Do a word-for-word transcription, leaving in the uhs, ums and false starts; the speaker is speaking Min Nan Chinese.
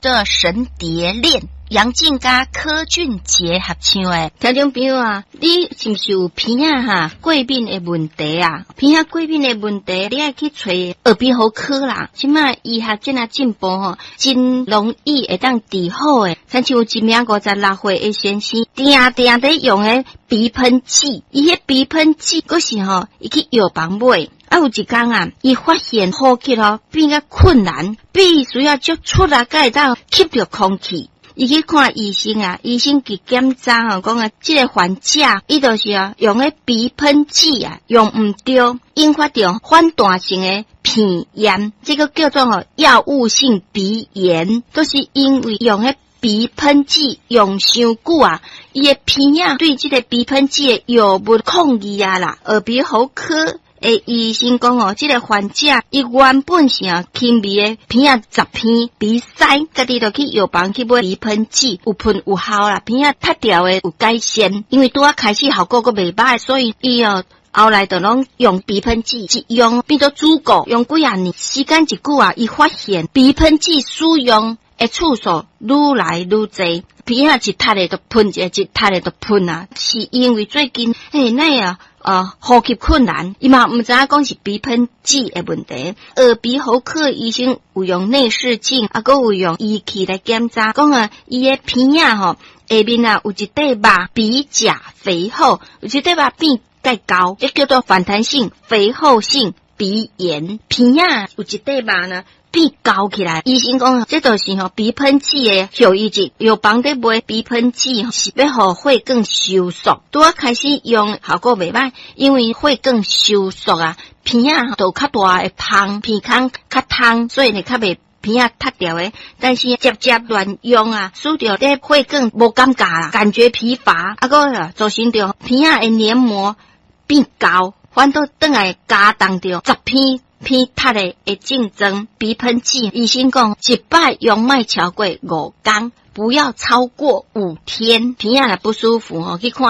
做《神碟戀》，楊靜佮柯俊傑合唱的。聽眾朋友啊，你是毋是有鼻仔哈過敏的問題啊？鼻仔過敏的問題，你愛去揣耳鼻喉科啦。這馬醫學遮爾進步吼，真容易會當治好的。親像有一名五十六歲的先生，定定佇用彼鼻噴劑，伊彼鼻噴劑，閣是吼，伊去藥房買。啊，有一工啊，伊發現呼吸吼變較困難，必須要足出力才會當吸著空氣。伊去看醫生啊，醫生去檢查吼，講啊，這個患者伊就是啊，用彼鼻噴劑啊，用毋著，引發著反彈性的鼻炎，這個叫做吼藥物性鼻炎，都是因為用彼鼻噴劑用傷久啊，伊的鼻仔對這個鼻噴劑的藥物抗議啊啦，耳鼻喉科的醫生講哦，這個患者伊原本是啊輕微的鼻仔雜鼻鼻塞，家己就去藥房去買鼻噴劑，有噴有效啦，鼻仔塞著的有改善，因為拄仔開始效果閣袂䆀，所以伊哦後來就攏用鼻噴劑，一用變做主顧，用幾仔年，時間一久啊，伊發現鼻噴劑使用的次數愈來愈濟，鼻仔一塞的就噴一下，一塞的就噴啊，是因為最近嘿那啊。呃，呼吸困難，伊嘛毋知影講是鼻噴劑的問題。耳鼻喉科醫生有用內視鏡，啊，閣有用儀器來檢查，講啊，伊的鼻仔吼下面啊有一塊肉鼻甲肥厚，有一塊肉變較厚，這叫做反彈性肥厚性鼻炎。鼻仔有一塊肉呢變厚起來，醫生講這就是吼鼻噴劑的後遺症。藥房佇賣鼻噴劑是欲予血管收縮，拄仔開始用效果袂䆀，因為血管收縮啊，鼻仔就較大的芳，鼻孔較通，所以會較袂鼻仔塞著的。但是捷捷亂用啊，使著這血管無感覺啦，感覺疲乏，啊閣造成著鼻仔的黏膜變厚，反倒轉來加重著雜鼻。鼻塞的的症狀，鼻噴劑，醫生講一擺用莫超過五工，不要超過五天。鼻仔若不舒服吼，去看。